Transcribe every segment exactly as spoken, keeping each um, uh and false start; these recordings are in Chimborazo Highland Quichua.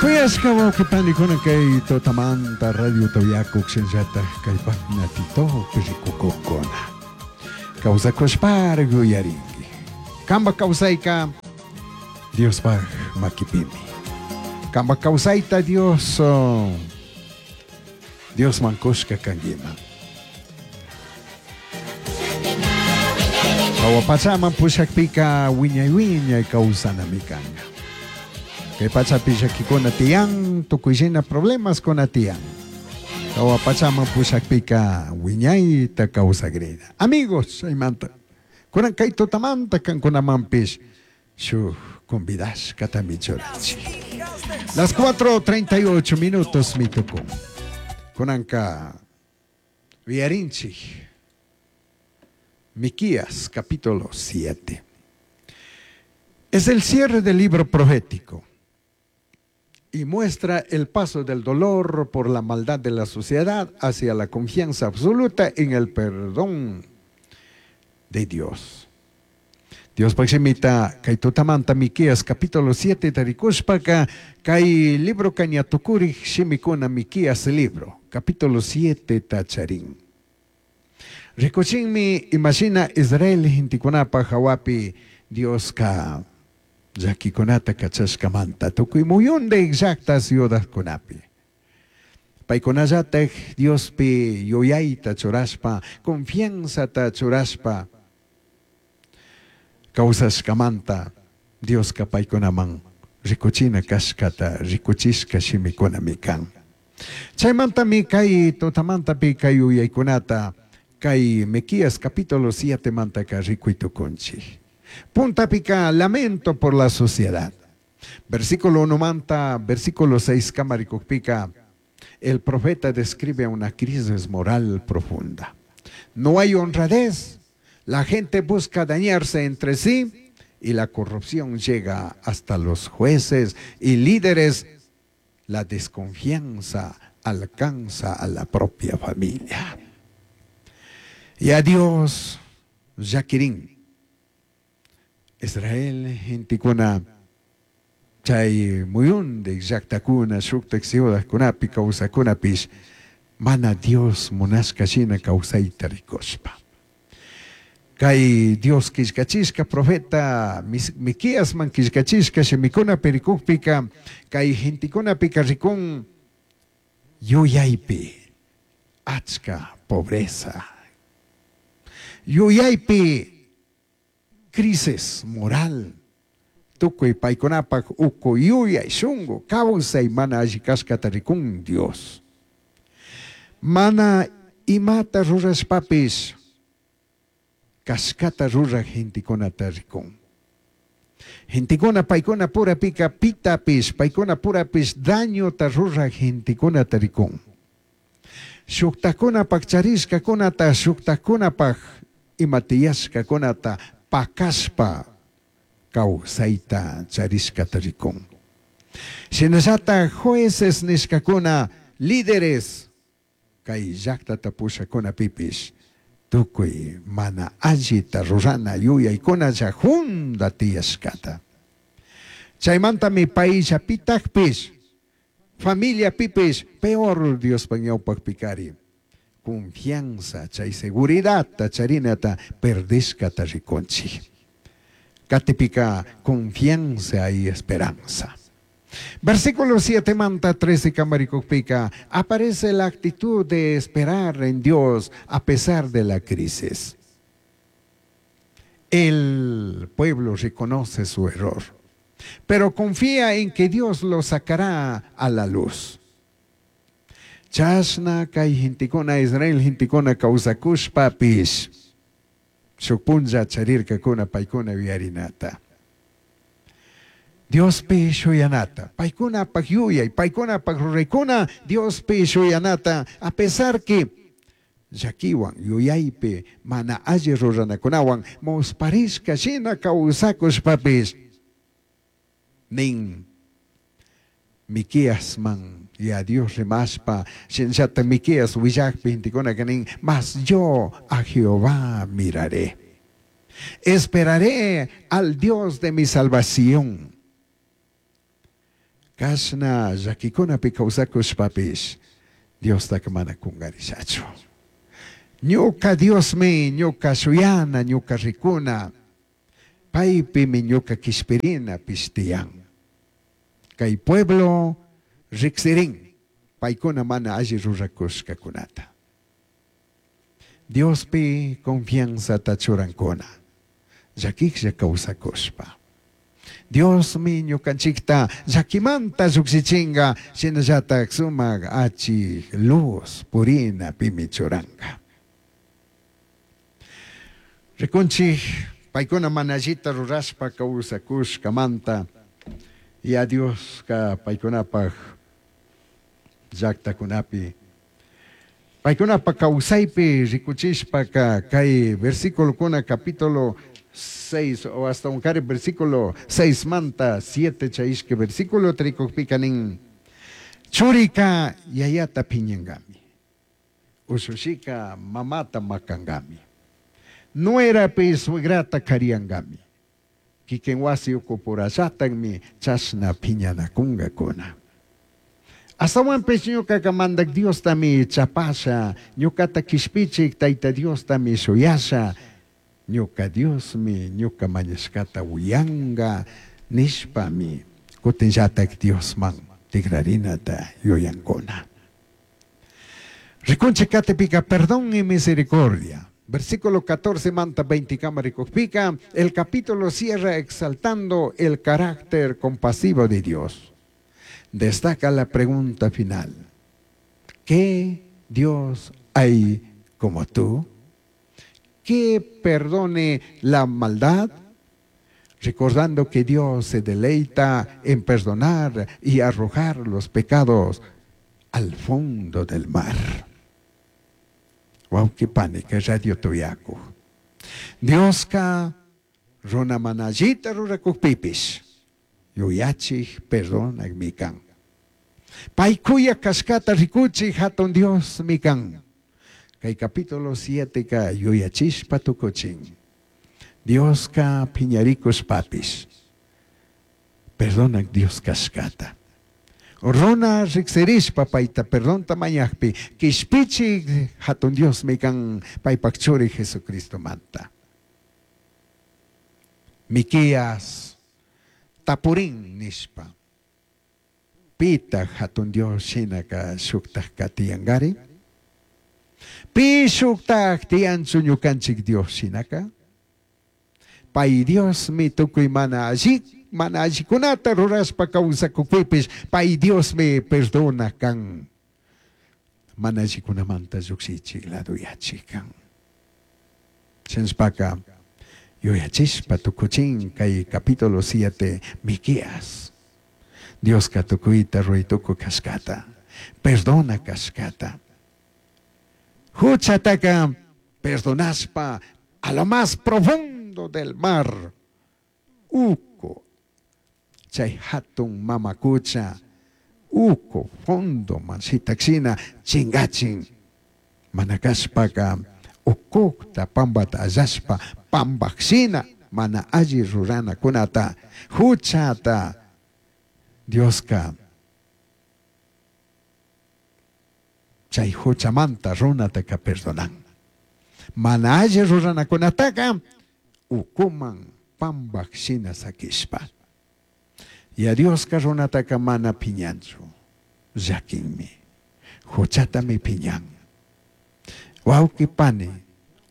Kuyashka wawqipanikuna kay tutamanta Radio Toyacu shinllataj kay página TikTok rikukukuna. Kawsakushpar yuyarinki. Kamba kawsayka Diospaj makipimi. Kamba kawsayta Dios oh, Diosman kushka kankiman. Jahua pachaman pushakpika wiñay wiñay kawsanami kanka. Kay pachapi llakikuna tiyan, tukuyshina problemaskuna tiyan. Jahua pachaman pushakpika wiñayta kawsakrina. Amigos, chaymanta. Kunan kay tutamanta kankunamanpish shuk convidashkatami churanchik. Las cuatro treinta y ocho minutos mi tukun. Kunanka uyarinchik. Miqueas capítulo siete. Es el cierre del libro profético y muestra el paso del dolor por la maldad de la sociedad hacia la confianza absoluta en el perdón de Dios. Dios paximita kay tutamanta Miqueas capítulo siete tarikushpaka kay libro kañatukurik shimikuna Miqueas libro capítulo siete tacharin. Rikuchinmi imashina Israel hintikunapa hawapi Dioska llakikunata kachashkamanta tukuy muyunde llaqta ciudadkunapi. Paykunallataj Diospi yuyayta churashpa, confianzata churashpa kawsashkamanta Dioska paykunaman rikuchina kashkata rikuchishka shimikunami kan. Chaymantami kay tutamantapi kay yuyaykunata kay Miqueas capítulo siete mantaka rikuy tukunchik. Puntapika lamento por la sociedad. Versículo uno manta, versículo seis kamarikukpika, el profeta describe una crisis moral profunda. No hay honradez, la gente busca dañarse entre sí y la corrupción llega hasta los jueces y líderes. La desconfianza alcanza a la propia familia. Y a Dios, Yaquirín. Israel, genticuna, chay muyunde, llaqtakuna, shuktak ciudadkunapi, kawsakunapish, mana Dios munashka shina kawsayta rikushpa. Kay Dios killkachishka profeta Miqueasman killkachishka shimikunapi rikukpika, kay genticunapika rikun yuyaypi achka pobreza. Yuyaypi crisis moral. Tukuy paykunapak uku yuyay shunku kawsay mana alli kashkata rikun Dios. Mana imata rurashpapis kashkata ruraj gentekunata rikun. Gentekuna paykuna purapika pitapis, paykuna purapis dañota ruraj gentekunata rikun. Shuktakunapak charishkakunata, shuktakunapak imatiyashkakunata pakashpa kawsayta charishkata rikun. Shinallata jueces nishkakuna, líderes kay llaqtata pushakunapipish tukuy mana allita rurana yuyaykuna junda tiyashkata. Chaymantami payllapitakpish, familiapipish, peor Diospa ñawpaqpikari. Confianza, chay seguridad, charinata perdishkata rikunchik. Katipika confianza y esperanza. Versículo siete manta trece kamarikukpika aparece la actitud de esperar en Dios a pesar de la crisis. El pueblo reconoce su error, pero confía en que Dios lo sacará a la luz. Chashna kay gentikuna Israel gentikuna kawsakushpapish shuk punlla charirkakuna paykuna yuyarinata. Diospi shuyanata, paykunapak yuyay, paykunapak ruraykuna, Diospi shuyanata, a pesar que llakiwan yuyaypi mana alli ruranakunawan musparishka shina kawsakushpapish nin Miqueasman y a Dios rimashpa shinllata Miqueas willakpi gentekunaka nin, mas yo a Jehová miraré, esperaré al Dios de mi salvación. Kashna llakikunapi kawsakushpapish Diostaka mana kungarishachu. Ñuka Diosmi ñuka shuyana, ñuka rikuna, paypimi ñuka kishpirinapish tiyan. Kay pueblo riksirin, paykuna mana alli rurakushkakunata. Diospi confianzata churankuna, llakiklla kawsakushpa. Diosmi ñukanchikta llakimanta lluksichinka, shinallatak sumak achik luz purinapimi churanka. Rikunchik paykuna mana allita rurashpa kawsakushkamanta, ya Dioska paykunapaj llaktakunapi paykunapaj kawsaypi rikuchishpaka kay versículokuna capítulo seis o hasta un cari versículo seis manta siete chay ishki versículo rikukpika nin churika yayata piñankami, ushushika mamata makankami, nuerapi suegrata kariyankami, kikin wasi ukupurallatakmi chashna piñanakunkakuna. Astawanpish ñukaka mandak Diostami chapasha, ñukata kishpichik Tayta Diostami shuyasha, ñuka Diosmi ñuka mañashkata uyanka nishpami kutinllatak Diosman tikrarinata yuyankuna. Rikunchik katipika perdón y misericordia. Versículo catorce manta veinte kama rikukpika, el capítulo cierra exaltando el carácter compasivo de Dios. Destaca la pregunta final. ¿Qué Dios hay como tú? ¿Que perdone la maldad? Recordando que Dios se deleita en perdonar y arrojar los pecados al fondo del mar. Wow, qué pánica, Radio Toyaco. Dioska runa mana allita rurakukpipis, yuyachik perdonak mikan. Paykuya kashkata rikuchik hatun Dios mikan. Kay capítulo siete ka yuyachishpa tukuchin. Dioska piñarikushpapis, perdonak Dios kashkata. Runa riksirishpa payta perdonta mañakpi, kishpichik hatun Dios mikan paypak churi Jesucristo manta. Miquías tapurin nishpa, pita hatun Dios shinaka shuktak katiyankari? Pi shuktak tiyanchu ñukanchik Dios shinaka? Pay Diosmi tukuy mana alli, mana allikunata rurashpa kawsakukpipish, pay Diosmi perdona kan. Mana allikunamanta llukshichik laduyachik kan. Shinashpaka yuyachishpa tukuchin kay capítulo siete Miqueas. Dioska tukuyta ruray kashkata, perdona kashkata. Huchataka perdonashpa a lo más profundo del mar. Uco, chay hatun mamakucha, uco fondo manshitaxina chingachin. Manakashpaka ukukta pambata allashpa pambaxina mana alli rurana kunata huchata Dioska chay huchamanta runataka perdonan. Mana alli ruranakunataka ukuman pambaxina sakishpa. Y a Dioska runataka mana piñanchu, llakinmi, huchatami piñan. Wawqi pani,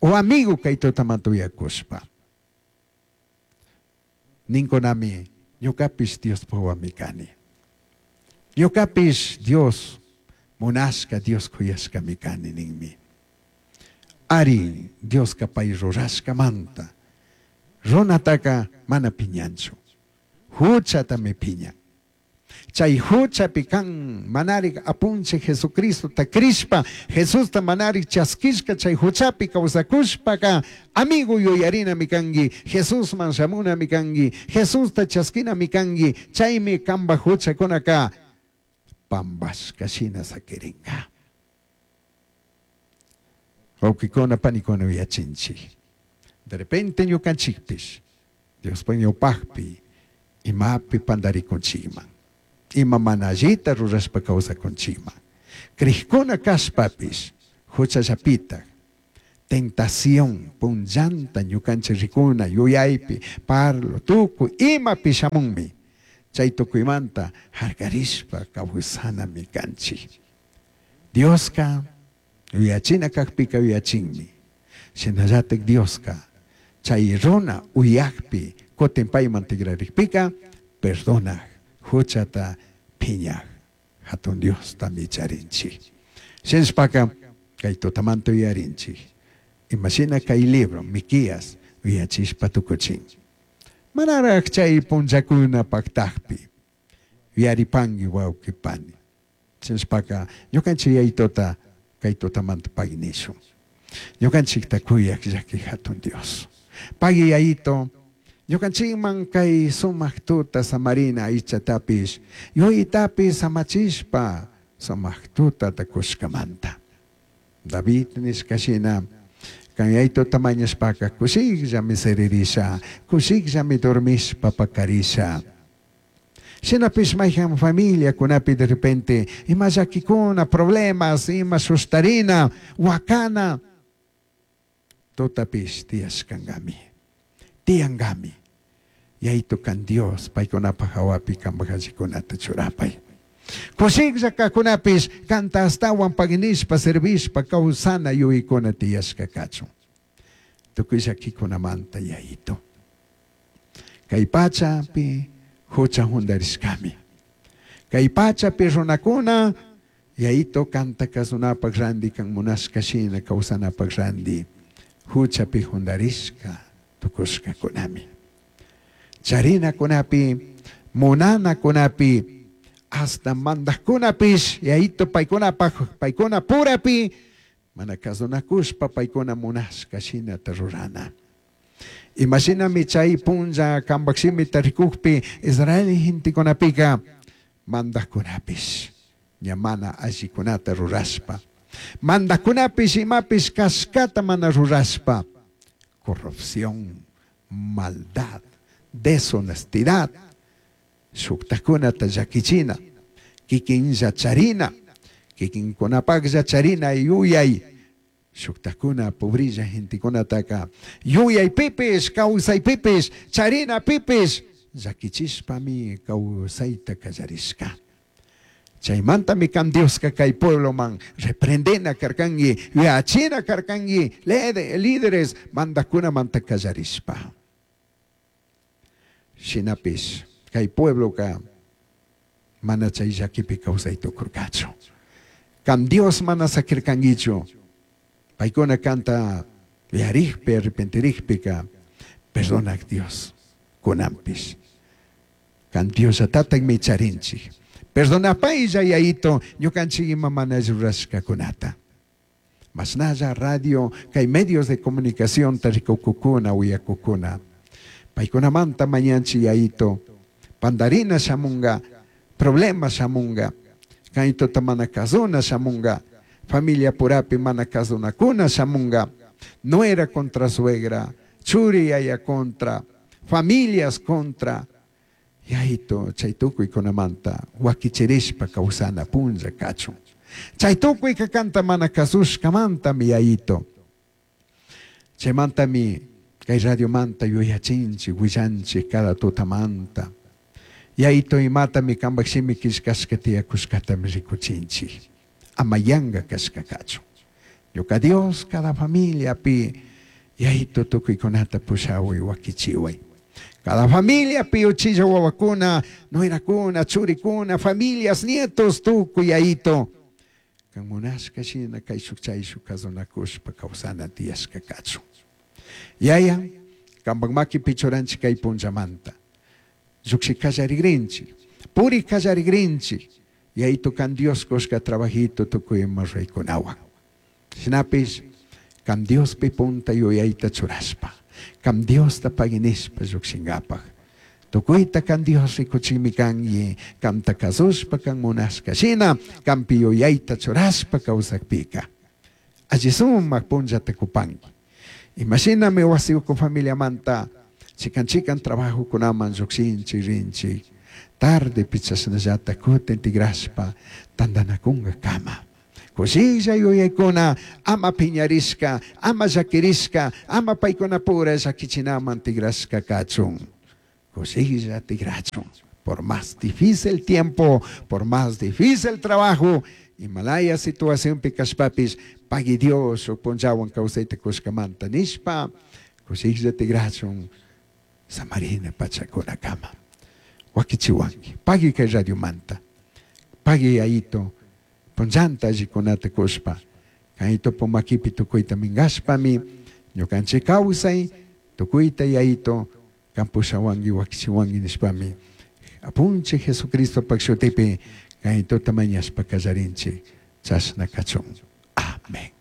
o amigo kay tutamantuyakushpa. Ninkunami, ñukapish Dios wawami kani. Ñukapish Dios munashka, Dios kuyashkami kani ninmi. Ari, Dioska pay rurashkamanta, runataka mana piñanchu, huchatami piñan. Chay huchapi kan manarik apunche Jesucristo ta krishpa, Jesusta manarik chaskishka chay huchapi kawsakushpaka, amigo yuyarina mikangi, Jesusman shamuna mikangi, Jesusta chaskina mikangi, chaymi kamba huchakunaka pambashka shina sakirinka. Wawqikuna panikuna uyachinchik. De repente ñukanchikpish, Diospa ñawpaqpi imapi pandarikunchikman. Ima mana allita rurashpa kawsakunchikman. Crijkuna kashpapish huchallapitaj tentación punllanta ñukanchik rikuna yuyaypi parlo tukuy imapi shamunmi. Chay tukuymanta harkarishpa kawsanami kanchik. Dioska yuyachina kakpika yuyachinmi. Shinallatak Dioska chay runa uyakpi kutin payman tikrarikpika perdonaj huchata phiñaj hatun Diostami charinchik. Shinashpaka kay tutamanta yuyarinchik. Imashina kay libro Miqueas yuyachishpa tukuchin. Manaraj chay punllakuna paktakpi yuyaripanki wawqi pani. Shinashpaka ñukanchik yayituta kay tutamanta pagui nishun. Ñukanchikta kuyak llaki hatun Dios. Pagui yayito, ñukanchikman kay sumak tuta samarina aychatapish, yuyaytapish samachishpa sumak tutata kushkamanta. David nishkashina, kan yayituta mañashpaka kushikllami siririsha, kushikllami dormishpa pakarisha. Shinapish mayhan familiakunapi de repente ima llakikuna, problemas, ima sustarina, wakana, tutapish tiyashkankami, tiyankami. Yayito kan Dios paykunapaj hawapi kanpaj allikunata churapay. Kushiklla kakunapish kanta ashtawan paginishpa servishpa kawsana yuyaykuna tiyashka kachun. Tukuy llakikunamanta yayito. Kay pachapi hucha jundarishkami. Kay pachapi runakuna yayito kanta kasunapaj randi kan munashka shina kawsanapaj randi huchapi jundarishka tukushkakunami. Charinakunapi, munanakunapi, hasta mandajkunapish yayito paykunapaj paykuna purapi mana kasunakushpa paykuna munashka shinata rurana. Imashinami chay punlla kanpak shimita rikukpi Israel gentekunapika mandajkunapish ña mana allikunata rurashpa, mandajkunapish imapish kashkata mana rurashpa, corrupción, maldad, deshonestidad, shuktakunata llakichina, kikinlla charina, kikinkunapaklla charina yuyay, shuktakuna pobrilla gentekunataka yuyaypipish, kawsaypipish, charinapipish llakichishpami kawsayta kallarishka. Chaymantami kan Dioska kay puebloman reprendena karkanki, yuyachina karkanki, líderes mandajkunamanta kallarishpa. Shinapish kay puebloka mana chay llakipi kawsay tukurkachu. Kan Dios mana sakirkankichu. Paykuna kanta yuyarikpi, arrepentirikpika, perdonak Dios kunanpish. Kan Diosllatatakmi charinchik. Perdonapaylla yayito ñukanchik ima mana rurashkakunata. Mashnalla radio kay medios de comunicación rikukukuna uyakukuna. Paykunamanta mañanchik yayito pandarina shamunga, problema shamunga, kaytota mana kasuna shamunga, familia purapi mana kasunakuna shamunga, nuera contra suegra, churi yaya contra, familias contra. Yayito, chay tukuykunamanta wakichirishpa kawsana punlla kachun. Chay tukuyka kanta mana kasushkamantami yayito. Chaymantami kay radiomanta yuyachinchik, willanchik cada tutamanta. Yayito imatami kanpak shimi killkashka tiyakushkatami rikuchinchik. Ama yanka kashka kachun. Ñuka Dios cada familiapi yayito tukuykunata pushawi wakichiway. Cada familia pi uchilla wawakuna, nuerakuna, churikuna, familias, nietos, tukuy yayito. Kan munashka shina kayshuk chayshuk kasunakushpa kawsana tiyashka kachun. Yaya, kanpak makipi churanchik kay punchamanta. Llukshi kallarigrinchik, puri kallarigrinchik. Yayito kan Dios kushka trabajito tukuy ima ruraykunawan. Shinapish, kan Diospi punta yuyayta churashpa, kan Diosta paginishpa llukshinkapaj. Tukuyta kan Dios rikuchikmi kanki, kanta kasushpa kan munashka shina, kanpi yuyayta churashpa kawsakpika. Alli sumak punllata kupanki. Imashinami wasi uku familiamanta, chikan chikan trabajokunaman llukshinchik, rinchik. Tardepi chashnallata kutin tigrashpa tandanakunkakama. Kushilla yuyaykuna ama piñarishka, ama llakirishka, ama paykunapura llakichinaman tigrashka kachun. Kushilla tigrachun. Por más difícil tiempo, por más difícil trabajo, imalaya situacionpi kashpapish, pagui Dios shuk punllawan kawsayta kushkamanta nishpa, kushilla tigrachun samarina pachakunakama. Wakichiwanki, pagui kay radiomanta, pagui Yayito, punllanta allikunata kushpa, kaytopo makipi tukuyta minkashpami, ñukanchik kawsay, tukuyta Yayito, kan pushawanki wakichiwanki nishpami, Apunchik Jesucristopak shutipi kaytota mañashpa kallarinchik, chashna kachun. Amén.